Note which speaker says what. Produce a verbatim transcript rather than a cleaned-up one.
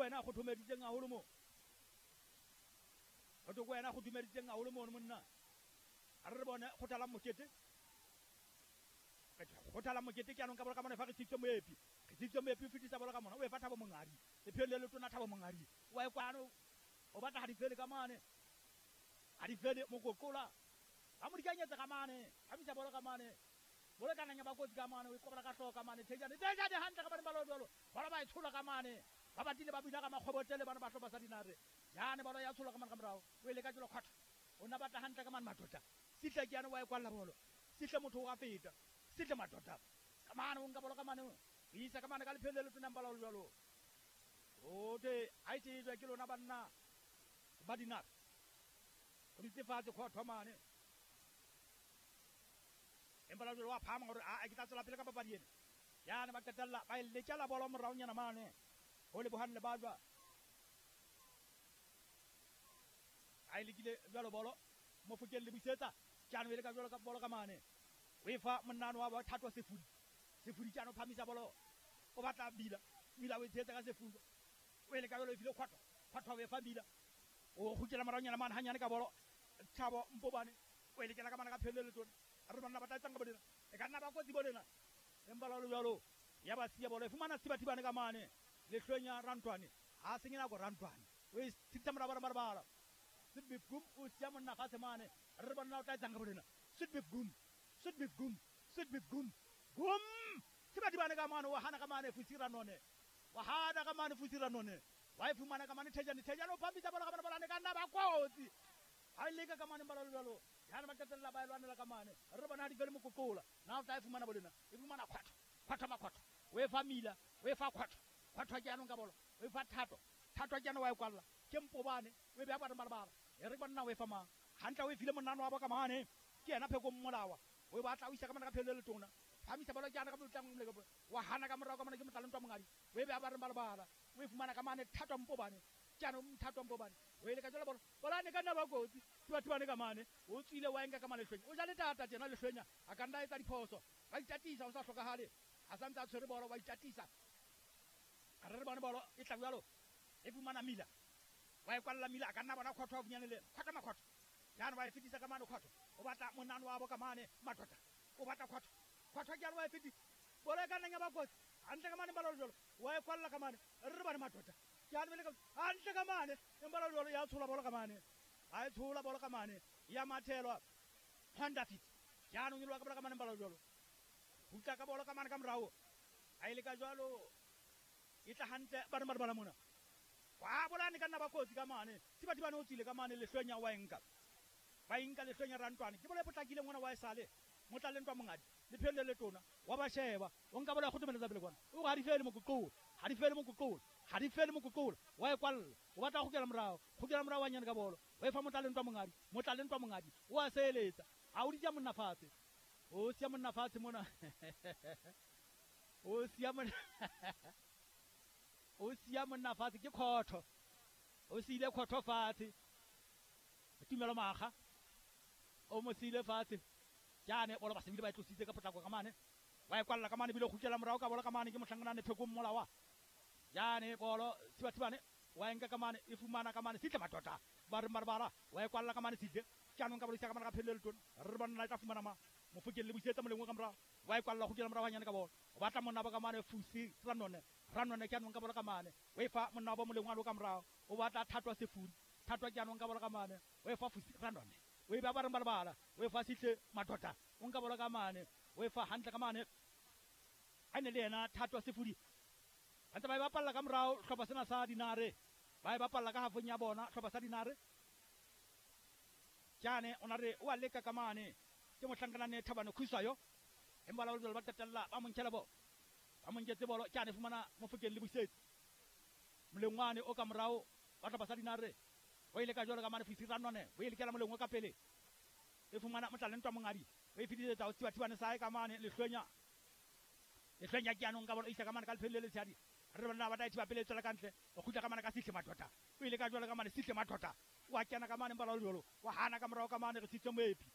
Speaker 1: wena a kgothomeditseng haholo mo. Ho thwe ke wena a kgothomeditseng haholo mono monna. A re re bone Kgothalang Mokete. Kgothalang Mokete ke anong ka bolo ka mona fa re tsitse Moepi. Re tsitse Moepi o fetisa bolo ka mona. O e fa Thabo Mongadi. Lepheng le letona Thabo Mongadi. Wa e kwano o batla ha di fele ka mane. Ha di fele mokoqola. Ba mo dikanyetsa ka mane. Phamisa bolo ka mane. Bolo ka nanya ba kotsi ka mane, o e kobela ka hlooho ka mane. Thejane, Thejane hantle ka bane ba lo jwalo. Bolo ba e tshola ka mane. Ba batile ba bina ka makgobotele bana ba hlopha sa Dinare. Jane bolo ya tshola ka mane ka morao. O e leka jwalo khotha. O nna batla hantle ka mane matota. Sihle ke yane wa e kwalla bolo. Sihle motho o a feta. Sihle matota. Ka mane o nka bolo ka mane. O isa ka mane ka lephele le tona mpala jwalo. O te ha e tsejwa ke lona banna ba Dinare. O ditse fatshe khotha mane. Empa la jwalo wa phahama hore a ke tla tswela pele ka papadi ena. Yane ba qetella ba e letjela bolo moraonyana mane. Ho lebohang le bajwa. A e lekile jwalo bolo. Mofokeng le busetsa. Tjano e leka jwalo ka bolo ka mane. O e fa monnano wa Thato Sefudi. Sefudi tjano phamisa bolo. O batla Bila. Bila o e tshehetsa ka Sefudi. O e leka jwalo e file Khotho. Khotho o e fa Bila. O kgutlela moraonyana mane hanyane ka bolo. Thabo Mpobane. O e lekela ka mane ka phele le tsona. Re banna ba tla etsang ka bolena. E ka nna ba kotsi bolena. Empa la jwalo ya ba siya bolo e fumana Thibathibane ka mane. Lehlwenya Rantwane. Ha senye nako Rantwane. O e thitsa mora bara bara. Sitbif gum o siya monna fatshe mane. Re banna o tla etsang ka bolena. Sitbif gum. Sitbif gum. Sitbif gum. Gum. Thibathibane ka mane o hana ka mane Fusira none. Wa hana ka mane Fusira none. Wa e fumana ka mane Thejane. Thejane o phampisa bolo ka mane bolane ka nna ba kotsi. Ha e leka ka mane ba jwalo. Yana ba qetella ba e lwanela ka mane. Re bona ha di fele mokokola. Na o tla e fumana bolena. E fumana khotho. Khotho makhotho. O e fa Mila, o e fa Khotho. Khotho ke yanong ka bolo. O e fa Thato. Thato ke yana wa e kwalla. Ke Mpobane, o e beha ba re E re banna o e fa mang. Hantle o e file monnano wa bo ka mane. Ke yena Pheko Mmolawa. O e batla o isa ka mane ka phele le tona. Phamisa bolo ke yana ka motlang le ka. Wa hana ka morao ka mane ke motlaleng twa mongadi. O e beha ba re balabala. O e fumana ka mane Thato Mpobane. Ke yana Thato Mpobane. O e leka jwalo bolo. Bolane ka nna ba kotsi. Thibathibane ka mane. O tswile wa enka ka mane Lehlwenya. O ja le tata tjena Lehlwenya. A ka nna etsa diphoso. Ba itatisa ho sa hlokahale. A santse a tshwere bolo ba itatisa. A re re bone bolo e tla jwalo. E fumana Mila. Wa e kwalla Mila a ka nna bona khotho haufinyane le. Khotho makhotho. Jane wa e fetisa ka mane khotho. O batla monano wa bo ka mane matota. O batla khotho. Khotho ke wa e fetisa. Bolo e ka nnang ya ba kotsi. Hantle ka mane ba jwalo. Wa e kwalla ka mane. Re re bone matota. Ke a ka hantle ka mane. Empa la jwalo ya tshola bolo ka mane. Ha e tshola bolo ka mane. Ya mathelwa Honda Fit. Jaanong e lwa ka bolo ka mane ba jwalo. Hutla ka bolo ka mane ka morao. Ha e le ka jwalo e tla hantle ba re ba mona. Wa bolane ka nna ba kotsi ka mane. Thibathibane o tswile ka mane Lehlwenya wa enka. Ba enka Lehlwenya Rantwane. Ke bolo e potlakileng ngwana wa e sale. Motlaleng twa mongadi. Lephele le tona. Wa ba sheba. O nka bolo ya kgotomeletsa pele kwana. O ha di fele mokoqola. Ha di fele mokoqola. Ha di fele mokoqola. Wa e kwalla. O batla go kgutlela morao. Kgutlela morao wa nyane ka bolo. O e fa motlaleng twa mongadi. Motlaleng twa mongadi. O a seeletsa. Ha o ditja monna fatshe. O siya monna fatshe mona. O siya monna. O siya monna fatshe ke khotho. O siile khotho fatshe. Tumelo Makga. O mo siile fatshe. Jane bolo ba sebile ba e tlositse ka potlako ka mane. Wa e kwalla ka mane bile kgutlela morao ka bolo ka mane ke mohlangana Pheko Mmolawa. Jane bolo Thibathibane wa enka ka mane e fumana ka mane Sihle matota. Ba re marabara wa e kwalla ka mane Sihle. Jaanong ka bolo isa ka mane ka phele le tona. Re bona e tla fumana ma. Mofokeng le busetsa molengwe ka morao. Wa e kwalla kgutlela morao hanyane ka bolo. O batla monna ba ka mane Fusi Ranone. Ranone ke anong ka bolo ka mane. O e fa monna ba molengwe a lo ka morao. O batla Thato Sefudi. Thato ke anong ka bolo ka mane. O e fa Fusi Ranone. O e ba ba re balabala. O e fa Sihle matota. O nka bolo ka mane. O e fa hantle ka mane. A ne le yena Thato Sefudi. Ba ntse ba e bapalla ka morao hlopha sena sa Dinare. Ba e bapalla ka hafong ya bona hlopha sa Dinare. Jane o na re o a leka ka mane. Ke mohlankana Thabane Khuswayo. Empa la ba qetella ba mo nkela bolo. Ba mo nketse bolo. Jane fumana Mofokeng le busetsi. Molengwane o ka morao ba hlopha sa Dinare. O ile ka jwalo ka mane Fusi Ranone. O ile kela molengwe ka pele. E fumana motlaleng twa mongadi. O e fetisetsa ho Thibathibane sa hae ka mane Lehlwenya. Lehlwenya ke yanong ka bolo isa ka mane ka lephele le letshadi. Re bona ba tla thiba pele tswela ka ntle. O kgutla ka mane ka Sihle matota. O ile ka jwalo ka mane Sihle matota. Wa kena ka mane mpala jwalo. Wa hana ka morao ka mane re tsitse Moepi.